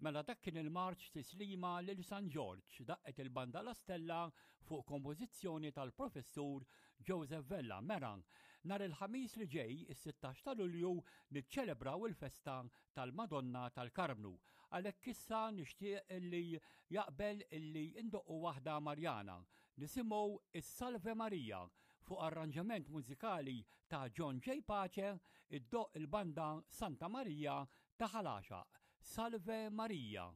Mela dak kien il-marċ tislima lil San Ġorġ daqqet il-banda La Stella fuq kompożizzjoni tal-Professur Joseph Vella. Mela, nhar il-Ħamis li ġej, is-16 ta' Lulju, niċċelebraw il-festa tal-Madonna tal-Karmnu. Għalhekk issa nixtieq li jaqbel illi ndoqqu waħda Marjana. Nisimgħu is-Salve Maria fuq arranġament mużikali ta' John J. Pace iddoqq il-banda Santa Maria ta' Ħal Għaxaq. Salve Maria!